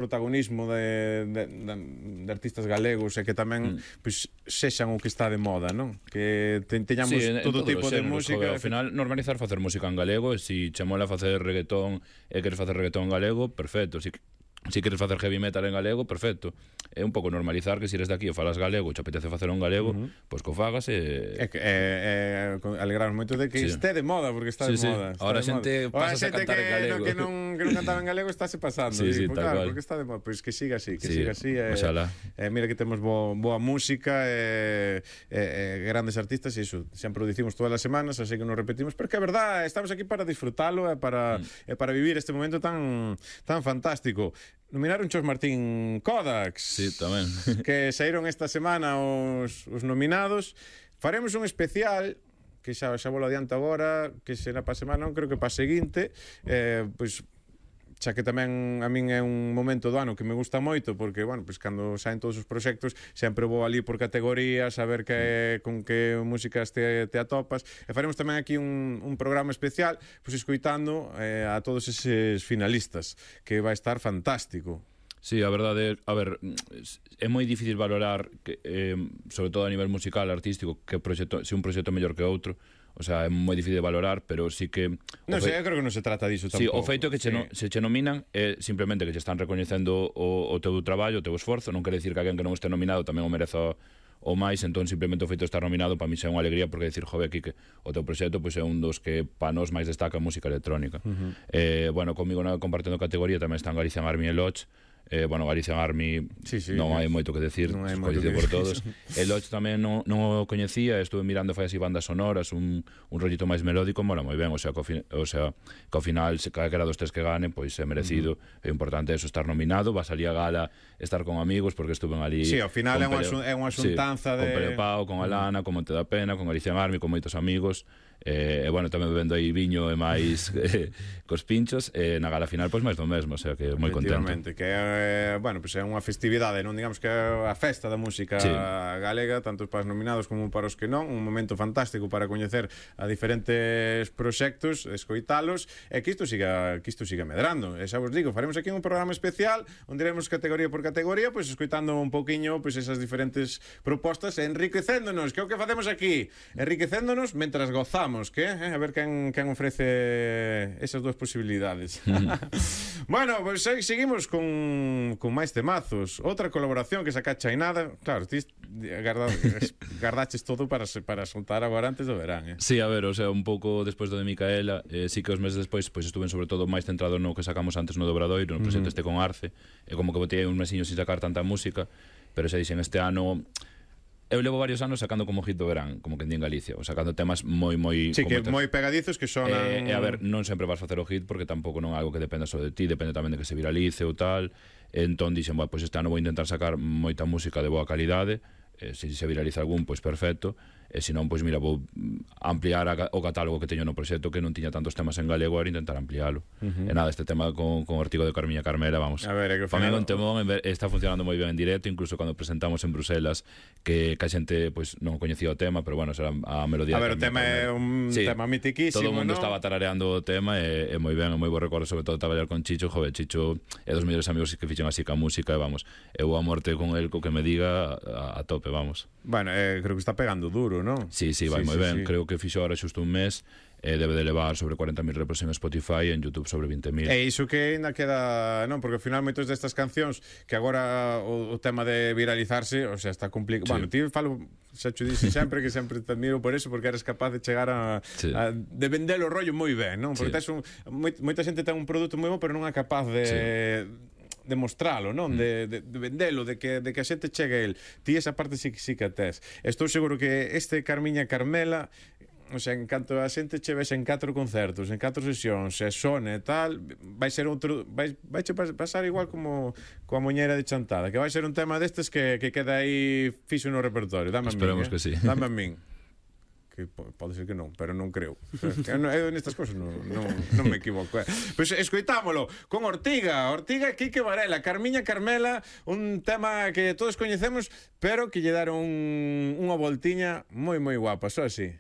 protagonismo de artistas galegos e que tamén pois, sexan o que está de moda, non? Que teñamos todo tipo de música. Ao final, normalizar facer música en galego, e se che mola facer reggaetón e queres facer reggaetón en galego, perfecto. Se queres facer heavy metal en galego, perfecto. É un pouco normalizar que se eres daqui e falas galego, che apetece facer un galego, pois que o fagas e... alegrarnos moito de que este de moda, porque está de moda. Ahora a xente pasa a cantar en galego. Que non cantaba en galego estáse pasando. Claro, porque está de moda. Pois que siga así, siga así. Mira que temos boa música e grandes artistas e iso, sempre o dicimos todas as semanas, así que nos repetimos, porque é verdad, estamos aquí para disfrutalo e para vivir este momento tan fantástico. Nominaron Chos Martín Kodax. Sí, tamén. Que saíron esta semana os nominados. Faremos un especial que xa volo adianto agora, que será para a semana, non creo que para a seguinte, pois xa que tamén a min é un momento do ano que me gusta moito, porque, bueno, pois cando saen todos os proxectos sempre vou ali por categorías a ver con que músicas te atopas, e faremos tamén aquí un programa especial pois escoitando a todos eses finalistas, que vai estar fantástico. Sí, a verdade, a ver, é moi difícil valorar, sobre todo a nivel musical, artístico, que se un proxecto mellor que outro. O sea, é moi difícil de valorar, pero sí que... Non sei, eu creo que non se trata disso tampouco. Sí, o feito é que se che nominan é simplemente que che están recoñecendo o teu traballo, o teu esforzo. Non quere dicir que alguén que non este nominado tamén o mereza o máis, entón simplemente o feito de estar nominado para mí é unha alegría, porque decir, jove, aquí que o teu proxecto pois é un dos que para nós máis destaca a música electrónica. Bueno, comigo compartendo categoría tamén están Galician Army e Lodge. Bueno, Galician Army non hai moito que decir, coñecido por todos. El Lodge tamén non o coñecía, estuve mirando fai así bandas sonoras, un rollito máis melódico, mola moi ben, o sea, que ao final se calquera dos tres que gane, pois é merecido. É importante eso, estar nominado, va a salir a gala, estar con amigos, porque estuven ali. Sí, ao final é unha xuntanza con Pele Pau, con Alana, con Monte da Pena, con Galician Army, con moitos amigos. E bueno, tamén bebendo aí viño e máis cos pinchos, e na gala final pois máis do mesmo, o sea que moi contento. Que bueno, pois é unha festividade, non digamos que é a festa da música galega, tanto para os nominados como para os que non, un momento fantástico para coñecer a diferentes proxectos, escoitalos, e que isto siga medrando. E xa vos digo, faremos aquí un programa especial onde iremos categoría por categoría, pois escoitando un pouquiño pois esas diferentes propostas e enriquecéndonos, que é o que facemos aquí, enriquecéndonos mentras gozamos. A ver quen ofrece esas dúas posibilidades. Bueno, pois seguimos con máis temazos. Outra colaboración que saca Chainada. Claro, ti gardaches todo para soltar agora antes do verán. Sí, a ver, o sea, un pouco despois do de Micaela, sí que os meses despois pois estuve sobre todo máis centrado no que sacamos antes no Dobradoiro, no proxecto este con Arce, e como que botei un mesiño sin sacar tanta música, pero xa dixen, este ano eu levo varios anos sacando como hit do verán, como que en Galicia, ou sacando temas moi sí, que moi pegadizos que sonan... E a ver, non sempre vas facer o hit, porque tampouco non é algo que dependa só de ti, depende tamén de que se viralice ou tal. Entón dixen, bueno, pois este ano vou intentar sacar moita música de boa calidade, se se viraliza algún, pois perfecto, e se non, pois mira, vou ampliar o catálogo que teño no proxecto, que non tiña tantos temas en galego, era intentar ampliálo. E nada, este tema con Ortigo de Carmiña Carmela, vamos, a ver, para mí un temón, está funcionando moi ben en directo, incluso cando presentamos en Bruselas, que a xente pois non coñecía o tema, pero bueno, será a melodía. A ver, o tema é un tema mitiquísimo, todo o mundo ¿no? estaba tarareando o tema, e moi ben, moi bo recordo, sobre todo traballar con Chicho. Joder, Chicho é dos mellores amigos que fixen así ca música, e vamos, eu a morte con el, co que me diga a tope, vamos. Bueno, creo que está pegando duro, ¿no? Sí, vai moi ben, creo que fixo ahora xusto un mes, debe de levar sobre 40.000 repros en Spotify e en YouTube sobre 20.000. E iso que ainda queda, non, porque ao final moitos destas cancións que agora o tema de viralizarse, o sea, está complicado. Bueno, ti falo, xa te dixen sempre que sempre te admiro por eso, porque eres capaz de chegar de vender o rollo moi ben, non? Porque moita xente ten un produto moi bo, pero non é capaz de mostralo, non? De vendelo, de que a xente chegue a el. Ti esa parte sí que a tes. Estou seguro que este Carmiña Carmela, o sea, en canto a xente che ves en 4 concertos, en 4 sesións, e sone e tal, vai ser outro, vai pasar igual como coa Moñeira de Chantada, que vai ser un tema destes que queda aí fixo no repertorio. Dame a min. Esperemos que sí. Dame a min. Que pode ser que non, pero non creo. Eu nestas cousas non me equivoco. Pois escoitámolo con Ortiga, Quique Varela, Carmiña Carmela, un tema que todos coñecemos, pero que lle daron unha voltiña moi guapa, só así.